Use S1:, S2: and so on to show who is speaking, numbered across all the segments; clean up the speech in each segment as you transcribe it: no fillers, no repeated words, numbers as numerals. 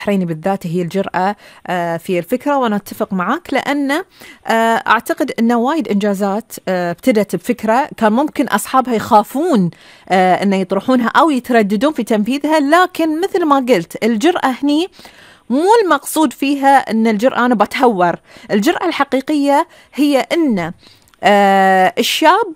S1: البحريني بالذات هي الجرأة في الفكرة، وأنا أتفق معك، لأن أعتقد أن وايد إنجازات ابتدت بفكرة كان ممكن أصحابها يخافون أن يطرحونها أو يترددون في تنفيذها، لكن مثل ما قلت الجرأة هني مو المقصود فيها أن الجرأة أنا بتهور. الجرأة الحقيقية هي أن الشاب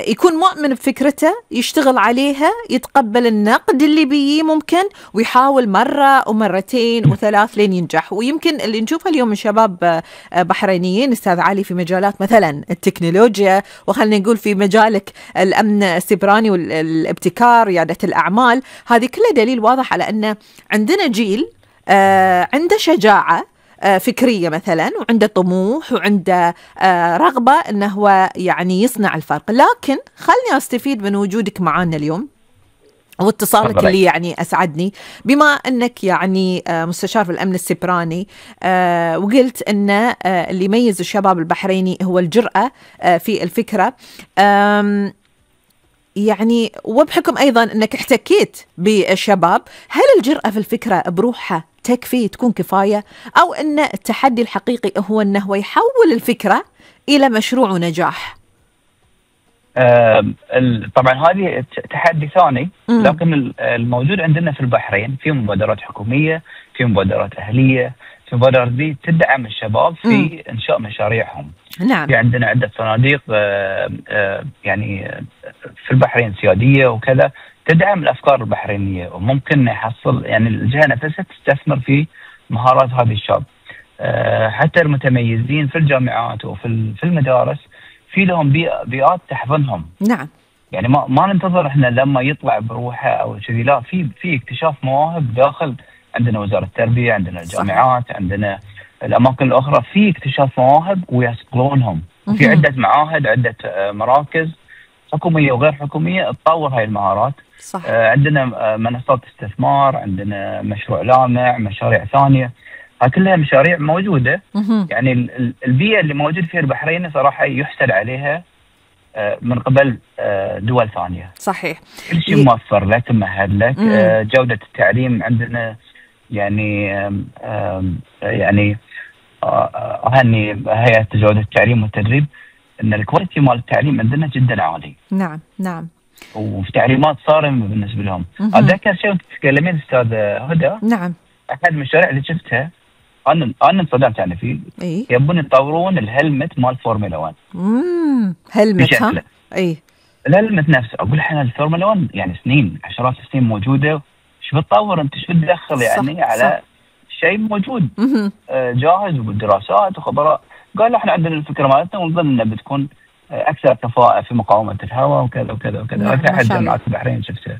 S1: يكون مؤمن بفكرته، يشتغل عليها، يتقبل النقد اللي بيه ممكن، ويحاول مرة ومرتين وثلاث لين ينجح. ويمكن اللي نشوفه اليوم من شباب بحرينيين أستاذ علي في مجالات مثلا التكنولوجيا، وخلنا نقول في مجالك الأمن السيبراني والابتكار، ريادة الأعمال، هذه كلها دليل واضح على أن عندنا جيل عنده شجاعة فكرية مثلا، وعنده طموح، وعنده رغبة أنه هو يعني يصنع الفرق. لكن خلني أستفيد من وجودك معنا اليوم واتصالك اللي يعني أسعدني، بما أنك يعني مستشار في الأمن السيبراني، وقلت أن اللي يميز الشباب البحريني هو الجرأة في الفكرة، يعني وبحكم أيضا أنك احتكيت بالشباب، هل الجرأة في الفكرة بروحها تكفي تكون كفاية، أو أن التحدي الحقيقي هو أنه يحول الفكرة إلى مشروع ونجاح؟
S2: طبعا هذه تحدي ثاني، لكن الموجود عندنا في البحرين في مبادرات حكومية، في مبادرات أهلية، في مبادرات دي تدعم الشباب في إنشاء مشاريعهم.
S1: نعم.
S2: في عندنا عدة صناديق يعني في البحرين سيادية وكذا تدعم الأفكار البحرينية، وممكن يحصل يعني الجهة نفسها تستثمر في مهارات هذه الشباب. حتى المتميزين في الجامعات وفي المدارس في لهم بيئات تحضنهم.
S1: نعم.
S2: يعني ما ننتظر احنا لما يطلع بروحه او كذي، لا، في اكتشاف مواهب داخل عندنا وزارة التربية، عندنا الجامعات، صحيح. عندنا الاماكن الاخرى في اكتشاف مواهب ويصقلونهم. وفي عدة معاهد، عدة مراكز حكومية وغير حكومية تطور هاي المهارات.
S1: صح.
S2: عندنا منصات استثمار، عندنا مشروع لامع، مشاريع ثانية، هاي كلها مشاريع موجودة. يعني البيئة اللي موجود فيها البحرين صراحة يحسد عليها من قبل دول ثانية.
S1: صحيح.
S2: كل شيء موفر لك، ممهد لك. جودة التعليم عندنا يعني أهني هيئة جودة التعليم والتدريب ان الكواليتي مال التعليم عندنا جدا عالي.
S1: نعم نعم.
S2: وفي تعليمات صارمة بالنسبة لهم. أتذكر شيء كنت تتكلمين أستاذ هدى.
S1: نعم.
S2: أحد المشاريع اللي شفتها أنا انصدمت يعني فيه.
S1: إيه؟
S2: يبون يطورون الهلمت مال فورمولا 1.
S1: هلمت ها؟ إيه؟
S2: الهلمت نفسه. أقول إحنا الفورمولا 1 يعني سنين، عشرات السنين موجودة، شو بتطور أنت، شو بتدخل يعني صح على صح. شيء موجود جاهز وبالدراسات وخبراء. قال احنا عندنا الفكرة مالتنا ونظن انها بتكون اكثر كفاءة في مقاومة الهواء وكذا وكذا وكذا. هذا احد جامعات البحرين شفتها.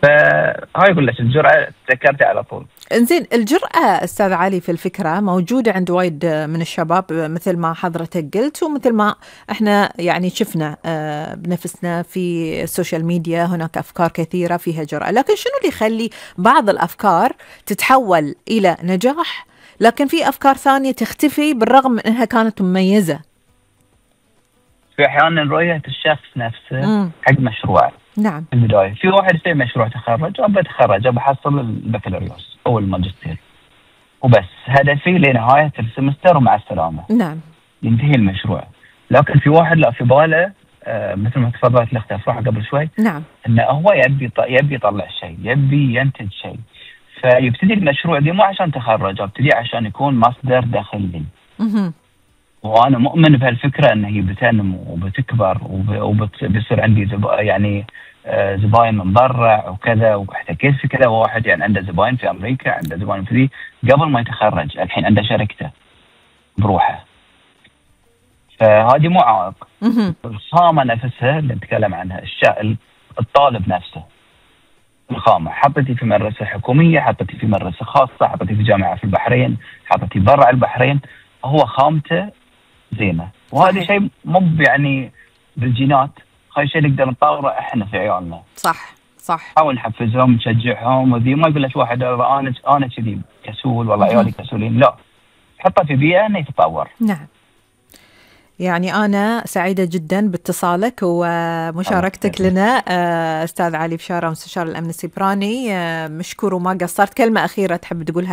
S2: فهاي يقول لك الجرأة تذكرتها على طول.
S1: انزين، الجرأة استاذ علي في الفكرة موجودة عند وايد من الشباب مثل ما حضرتك قلت، ومثل ما احنا يعني شفنا بنفسنا في السوشيال ميديا، هناك افكار كثيرة فيها جرأة. لكن شنو اللي يخلي بعض الافكار تتحول الى نجاح، لكن في أفكار ثانية تختفي بالرغم من أنها كانت مميزة؟
S2: في أحيانا رؤية الشخص نفسه حق مشروع.
S1: نعم.
S2: في البداية في واحد يسوي مشروع تخرج، أبى أتخرج، أبى أحصل البكالوريوس أو الماجستير وبس، هدفي لنهاية السمستر ومع السلامة.
S1: نعم.
S2: ينتهي المشروع. لكن في واحد لا، في باله مثل ما تفضلت الأخت أفراح قبل شوي،
S1: نعم،
S2: إنه هو يبي يطلع شيء، يبي ينتج شيء، فيبتدي المشروع دي مو عشان تخرج، ابتدي عشان يكون مصدر دخل لي. وانا مؤمن بهالفكره ان هي بتنمو وبتكبر وبيصير عندي يعني زباين من برا وكذا. واحتكيت في كذا واحد يعني عنده زباين في امريكا، عنده زباين في دي قبل ما يتخرج، الحين عنده شركته بروحه. فهذه مو عائق. الخامه نفسها اللي نتكلم عنها، الطالب نفسه، الخامة حطيتي في مدرسة حكومية، حطيتي في مدرسة خاصة، حطيتي في جامعة في البحرين، حطيتي برا البحرين، هو خامته زينة. وهذا شيء مو يعني بالجينات، هاي شيء نقدر نطوره احنا في عيالنا.
S1: صح صح.
S2: حاول نحفزهم نشجعهم، وذي ما يقول لك واحد انا كذي كسول والله عيالي كسولين، لا، حطه في بيئة انه يتطور.
S1: نعم. يعني أنا سعيدة جدا باتصالك ومشاركتك لنا أستاذ علي بشارة مستشار الأمن السيبراني. مشكور وما قصرت. كلمة أخيرة تحب تقولها